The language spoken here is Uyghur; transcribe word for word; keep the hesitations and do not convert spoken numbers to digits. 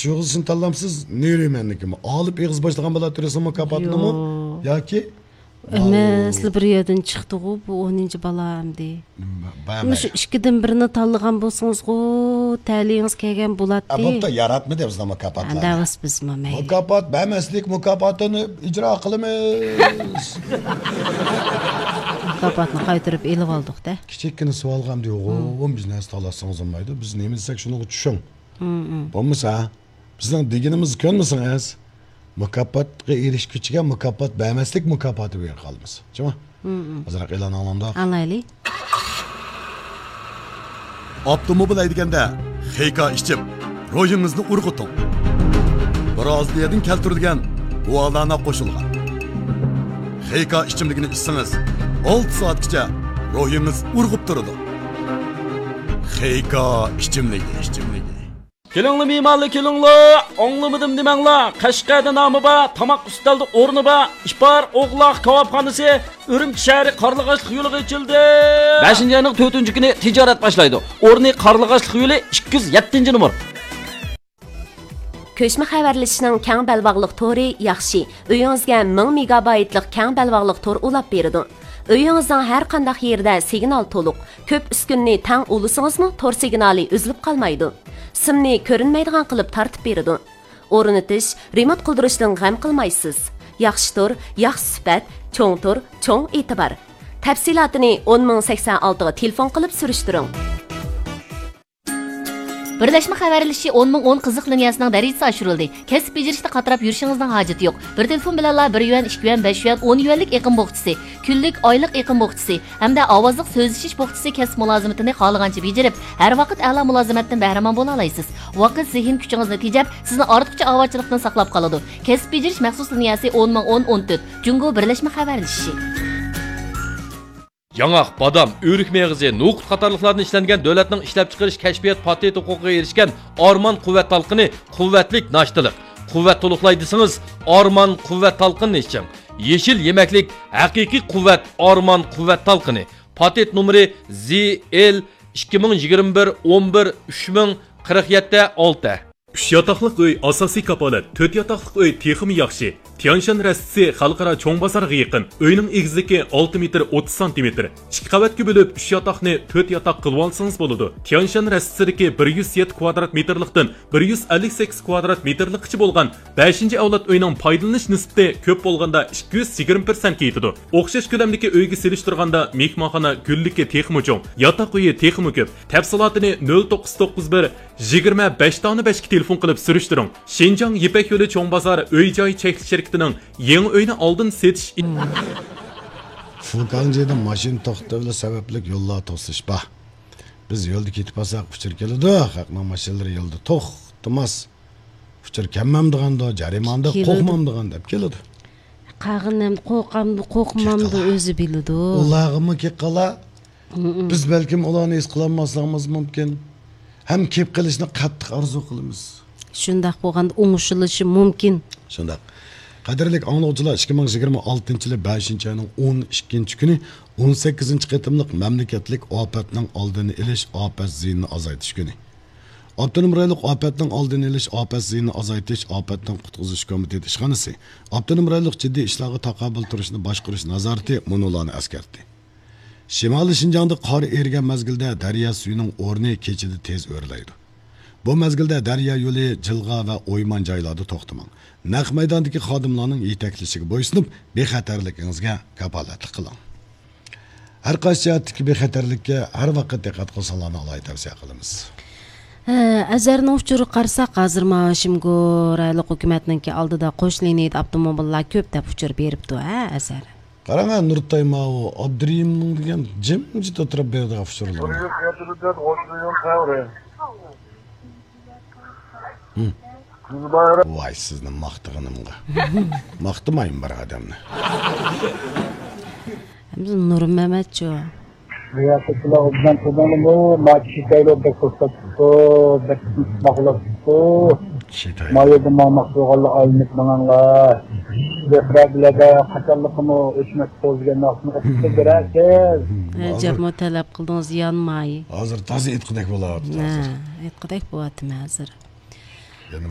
شۇ يىلسىنى تاللامسىز، نېرى مەننىكىمۇ؟ ئالىپ ئېغىز باشلىغان بالا تۇرسىمۇ مۇكاپاتىنىمۇ؟ ياق. ياكى؟ ئەمەسلا بىر يەردىن چىقتىغۇ بۇ ئونىنچى بالا ئەمدى. مۇشۇ ئىككىدىن بىرنى تاللىغان بولسىڭىزغۇ، تەلىيىڭىز كەلگەن بولاتتى. بوپتۇ، ياراتمىدى بىزنىڭ مۇكاپاتلارنى. ھە، دەۋاس بىزمۇ مەيلى. مۇكاپات بەرمەسلىك مۇكاپاتىنى ئىجرا قىلىمىز. مۇكاپاتنى قايتۇرۇپ ئېلىۋالدۇق-دە. كىچىككىنە سوئالغا ئەمدى يوغۇن بىز نەرسە تاللاتسىڭىز بولمايدۇ. بىز نېمە دېسەك شۇنىڭغا چۈشۈڭ. بولمىسا، بىزنىڭ دېگىنىمىزنى كۆنمىسىڭىز، مۇكاپاتقا ئېرىشكۈچىگە مۇكاپات بەرمەسلىك مۇكاپاتى بېرىپ قالىمىز. جۇمۇ؟ ئازراق ئېلان ئاڭلاڭدۇق. ئاڭلايلى. ئاپتوموبىل ھەيدىگەندە خېيكا ئىچىپ، روھىڭىزنى ئۇرغۇتۇڭ. برازىلىيەدىن كەلتۈرۈلگەن گۇالانا قوشۇلغان خېيكا ئىچىملىكىنى ئىچسىڭىز، ئالتە سائەتكىچە روھىڭىز ئۇرغۇپ تۇرىدۇ. خېيكا ئىچىملىكى، ئىچىملىكى. كېلىڭلار مېھمانلار، كېلىڭلار! ئاڭلىمىدىم دېمەڭلار! قەشقەردە نامى بار، تاماق ئۈستەلدە ئورنى بار، ئىپار ئوغلاق كاۋاپخانىسى ئۈرۈمچى شەھىرى قارلىغاچلىق يولىغا ئېچىلدى! بەشىنچى ئاينىڭ تۆتىنچى كۈنى تىجارەت باشلايدۇ. ئورنى قارلىغاچلىق يولى ئىككى يۈز يەتتىنچى نومۇر. كۆچمە خەۋەرلىشىشنىڭ كەڭ بەلباغلىق تورى ياخشى. ئۆيىڭىزگە مىڭ مېگابايتلىق كەڭ بەلباغلىق تور ئۇلاپ بېرىدۇ. ئۆيىڭىزنىڭ ھەر قانداق يېرىدە سىگنال تولۇق. كۆپ ئۈسكۈنىنى تەڭ ئۇلىسىڭىزمۇ تور سىگنالى ئۈزۈلۈپ قالمايدۇ. سىمنى كۆرۈنمەيدىغان قىلىپ تارتىپ بېرىدۇ. ئورنىتىش، رېمونت قىلدۇرۇشتىن غەم قىلمايسىز. ياخشى تور، ياخشى سۈپەت، چوڭ تور، چوڭ ئېتىبار. تەپسىلاتىنى ئون مىڭ سەكسەن ئالتىغا تېلېفون قىلىپ سۈرۈشتۈرۈڭ. بىرلەشمە خەۋەرلىشىشى ئون مىڭ ئون قىزىق لىنىيەسىنىڭ دەرىجىسى ئاشۇرۇلدى. كەسىپ بېجىرىشتە قاتراپ يۈرۈشىڭىزنىڭ ھاجىتى يوق. بىر تېلېفون بىلەنلا بىر يۈەن، ئىككى يۈەن، بەش يۈەن، ئون يۈەنلىك ئېقىم بوخچىسى، كۈنلۈك، ئايلىق ئېقىم بوخچىسى ھەمدە ئاۋازلىق سۆزلىشىش بوخچىسى كەسىپ مۇلازىمىتىنى خالىغانچە بېجىرىپ، ھەر ۋاقىت ئەلا مۇلازىمەتتىن بەھرىمەن بولالايسىز. ۋاقىت، زېھىن كۈچىڭىزنى تېجەپ، سىزنى ئارتۇقچە ئاۋارىچىلىقتىن ساقلاپ قالىدۇ. كەسىپ بېجىرىش مەخسۇس لىنىيەسى ئون مىڭ ئون ئون تۆت، جۇڭگو بىرلەشمە خەۋەرلىشىشى. ياڭاق، بادام، ئۆرۈك مېغىزى، نوقۇت قاتارلىقلاردىن ئىشلەنگەن دۆلەتنىڭ ئىشلەپچىقىرىش كەشپىيات پاتېنت ھوقۇقىغا ئېرىشكەن ئارمان قۇۋۋەت تالقىنى، قۇۋۋەتلىك ناشتىلىق. قۇۋۋەت تولۇقلاي دېسىڭىز، ئارمان قۇۋۋەت تالقىنىنى ئىچىڭ. يېشىل يېمەكلىك، ھەقىقىي قۇۋۋەت، ئارمان قۇۋۋەت تالقىنى. پاتېنت نومۇرى زى ئېل ئىككى مىڭ يىگىرمە بىر ئون بىر ئۈچ مىڭ قىرىق يەتتە ئالتە. ئۈچ ياتاقلىق ئۆي ئاساسىي كاپالەت، تۆت ياتاقلىق ئۆي تېخىمۇ ياخشى. تيانشان رەستىسى خەلقئارا چوڭ بازارغا يېقىن. ئۆينىڭ ئېگىزلىكى ئالتە مېتىر ئوتتۇز سانتىمېتىر. ئىككى قەۋەتكە بۆلۈپ، ئۈچ ياتاقنى تۆت ياتاق قىلىۋالسىڭىز بولىدۇ. تيانشان رەستىسىدىكى بىر يۈز يەتتە كۋادرات مېتىرلىقتىن بىر يۈز ئەللىك سەككىز كۋادرات مېتىرلىققىچە بولغان بەشىنچى ئەۋلاد ئۆينىڭ پايدىلىنىش نىسبىتى كۆپ بولغاندا ئىككى يۈز يىگىرمە پىرسەنتكە يېتىدۇ. ئوخشاش كۆلەمدىكى ئۆيگە سېلىشتۇرغاندا مېھمانخانا گۈللۈكى تېخىمۇ چوڭ، ياتاق ئۆيى تېخىمۇ كۆپ. تەپسىلاتىنى نۆل توققۇز توققۇز بىر، يىگىرمە بەش دانە بەشكە تېلېفون قىلىپ سۈرۈشتۈرۈڭ. شىنجاڭ يىپەك يولى چوڭ بازار ئۆي جاي چەكلىك شىركىتىنىڭ يېڭى ئۆينى ئالدىن سېتىش. فۇكاڭجىدا ماشىنا توختىتىۋېلىش سەۋەبلىك يوللار توسۇلۇش بار. بىز يولدا كېتىپ قالساق ئۇچۇر كېلىدۇ، خەقنىڭ ماشىنىلىرى يولدا توختىماس. ئۇچۇر كەلمەمدىغاندۇ، جەرىماندۇ، كېلىدۇ. قورقمامدىغان دەپ كېلىدۇ. قالغىنى ئەمدى قورقامدۇ، قورقمامدۇ، كېقىلا. ئۆزى بىلىدۇ. ئۇلارغىمۇ كېقىلا. مم. بىز بەلكىم ئۇلارنى ھېس قىلالماسلىقىمىز مۇمكىن. ھەم كېلىپ قېلىشنى قاتتىق ئارزۇ قىلىمىز. شۇنداق بولغاندا ئوڭشىلىشى مۇمكىن. شۇنداق. قەدىرلىك ئاڭلىغۇچىلار، ئىككى مىڭ يىگىرمە ئالتىنچى يىلى بەشىنچى ئاينىڭ ئون ئىككىنچى كۈنى ئون سەككىزىنچى قېتىملىق مەملىكەتلىك ئاپەتنىڭ ئالدىنى ئېلىش، ئاپەت زىيىنىنى ئازايتىش كۈنى. ئاپتونوم رايونلۇق ئاپەتنىڭ ئالدىنى ئېلىش، ئاپەت زىيىنىنى ئازايتىش، ئاپەتتىن قۇتقۇزۇش كومىتېتى ئىشخانىسى ئاپتونوم رايونلۇق جىددىي ئىشلارغا تاقابىل تۇرۇشنى باشقۇرۇش نازارىتى مۇنۇلارنى ئەسكەرتتى. شىمالىي شىنجاڭدا قار ئېرىگەن مەزگىلدە دەريا سۈيىنىڭ ئورنى كېچىدە تېز ئۆرلەيدۇ. بۇ مەزگىلدە دەريا يولى، جىلغا ۋە ئويمان جايلاردا توختىماڭ. نەق مەيداندىكى خادىملارنىڭ يېتەكلىشىگە بويسۇنۇپ، بىخەتەرلىكىڭىزگە كاپالەتلىك قىلىڭ. ھەر قايسى جەھەتتىكى بىخەتەرلىككە ھەر ۋاقىت دىققەت قىلساڭلارنى ئالاھىدە تەۋسىيە قىلىمىز. ھە، ئەزەرنىڭ ئۇچۇرىغا قارىساق، ھازىر ماۋۇ شىمگو رايونلۇق ھۆكۈمەتنىڭكى ئالدىدا قوش لىنىيىدە ئاپتوموبىللار كۆپ دەپ ئۇچۇر بېرىپتۇ، ھە، ئەزەر. قاراڭ، ھە، نۇرتاي ماۋۇ ئابدۇرېھىمنىڭ دېگەن جىمجىت ئولتۇرۇپ بېرىدىغان ئۇچۇرلىرىنى. ھىم. ۋاي، سىزنى ماختىغىنىمغا. ماختىمايمەن بىر ئادەمنى. ھەمزە نۇرمەمەتچۇ؟ ما كىشى تەيلور بەك پۇرسەت تۇتۇپتۇ، بەك ماقۇل تۇتۇپتۇ. ما يەردە ماڭماقچى بولغانلار ئايلىنىپ ماڭاڭلار. بىرەرلەردە قاچانلىقىمۇ ئۆچمەس قوزىگەن ناخشىنى ئوقۇپ بېرەرسىز. ئەجەبمۇ تەلەپ قىلدىڭىز يانماي. ھازىر تازا ئېيتقۇدەك بولۇۋاتىدۇ، ھە، ھازىر. ئېيتقۇدەك بولۇۋاتىمەن ھازىر. يەنە بىر